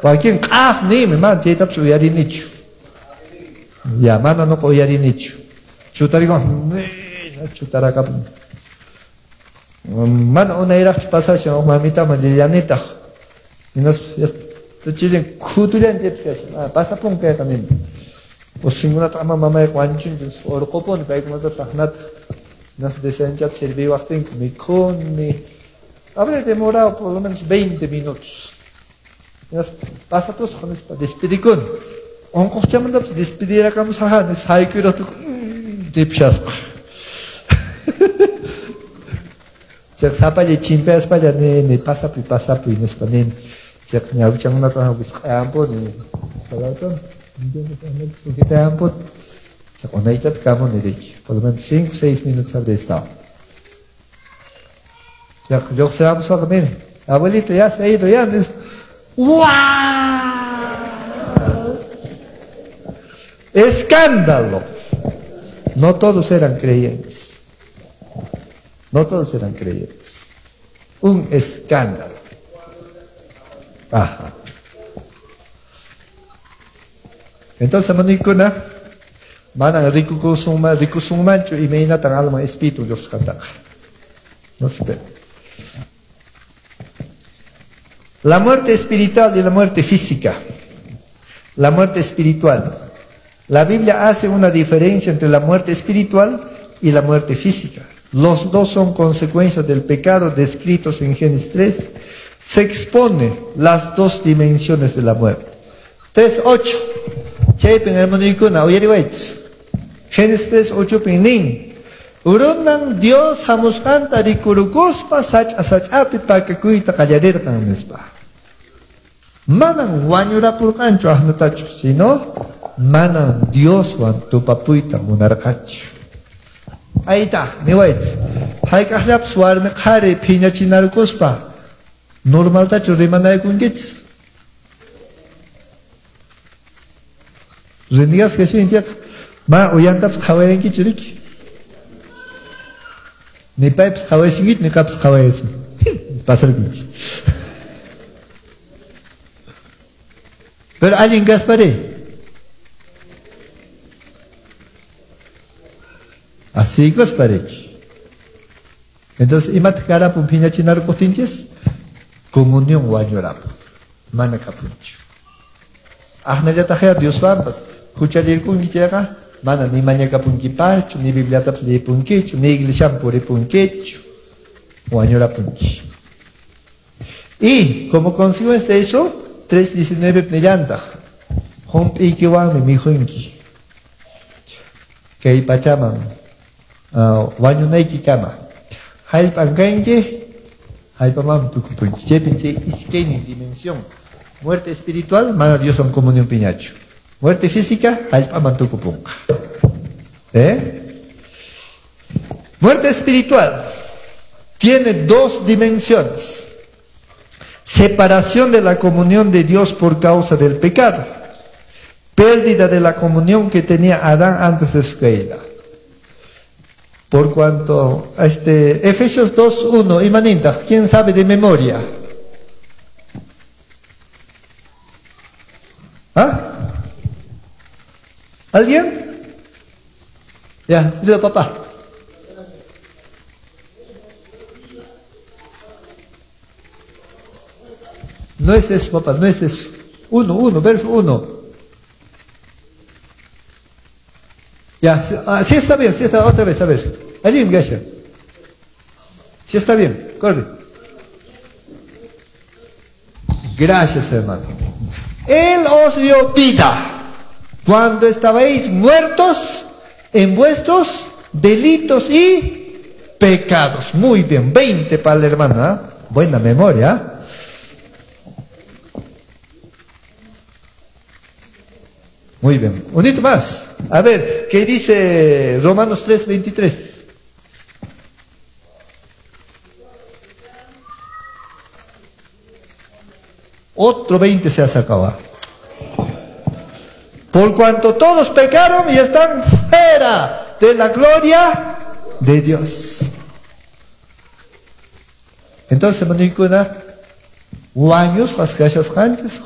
Wakin q'aq niymi, mana chaytapas uyarinichu. Ya, mana nuqa uyarinichu. Chutarikun, chutarakapun. Mana unayraqchu pasashan huk mamitaman llallanitaq. Hinaspa chilin khutullan chaypi kashan. Pasapun kayqa nini. Usinkunata ama mamayqa wañuchunchu, urqupuni paykunata taqnata. Hinaspa desayunchata sirviwaqtinku mikhuni. Habré demorado por lo menos 20 minutos. Pasapusqa nispa despedikuni. Unquqchamantapas despedirakamsaqa nispa hayk'uyraqtuku tipshasqa. Chayqa sapalla chimpayaspalla nini pasapuy pasapuy nispa nini. Chayqa ñawichankunata wisq'ayanpuni. Sujetayanpuni. Chayqa unaychata kamuni riki. Por lo menos 5 6 minutos habré estado. Chayqa lluqsiramuspaqa nini. Abuelito ya se ha ido ya nispa. ¡Guau! ¡Escándalo! No todos eran creyentes. No todos eran creyentes. Un escándalo. Ajá. Entonces, manikuna, manan rikusunmanchu imaynatan alma espíritu lluqsqantaqa. No se ve. La muerte espiritual y la muerte física. La muerte espiritual. La Biblia hace una diferencia entre la muerte espiritual y la muerte física. Los dos son consecuencias del pecado descritos en Génesis 3. Se expone las dos dimensiones de la muerte. 3.8. Chaypin hermanuykuna uyariwaychis. Génesis 3.8 pin nin. Runan Dios hamusqanta rikurukuspa sach'a sach'api pakakuyta qallarirqan nispa. Manan wañurapurqanchu ahnatachu, sino manan Dioswan tupapuyta munarqanchu. Ayta, niwaychis. Hayk'aqllapas warmi qhari phiñachinarkuspa normaltachu rimanaykunkichis? Rinigasqa shinchaq, ma uyantapas qhawayankichu riki? Ni paypas qhawaysinkichu, ni qapas qhawayasun. Pasarkunki. Pero allin kaspari. Así kaspariki. Entonces, imataq karapun phiñachinarkuqtinchis? Comunión wañurapun. Mana kapunchu. Ahnallataqya Dioswanpas huchallirkunki chayqa mana ni mañakapunkipaschu, ni Bibliatapas leyipunkichu, ni iglesiaman puripunkichu. Wañurapunki. Y como consecuencia de eso, 3.19 nillantaq. Hump'iykiwanmi mikhunki. Kay pachaman wañunaykikama. Hallp'an kanki, hallp'amanmi tukupunki. Chaypin chay iskaynin dimensión. Muerte espiritual, mana Dioswan comunión piñachu. Muerte física, hallp'aman tukupunqa. ¿Eh? Muerte espiritual tiene dos dimensiones. Separación de la comunión de Dios por causa del pecado. Pérdida de la comunión que tenía Adán antes de su caída. Por cuanto, Efesios 2.1, imaninta, ¿quién sabe de memoria? ¿Ah? ¿Alguien? Ya, dilo papá. No es eso, papá, no es eso. 1, verso 1. Ya, sí está bien, sí está, otra vez, a ver. Allí, Gasha. Sí está bien, corre. Gracias, hermano. Él os dio vida cuando estabais muertos en vuestros delitos y pecados. Muy bien, 20 para la hermana. ¿Eh? Buena memoria. Muy bien, un hito más. A ver, ¿qué dice Romanos 3:23? Otro 20 se ha sacado. Por cuanto todos pecaron y están fuera de la gloria de Dios. Entonces, manikuna, wañus,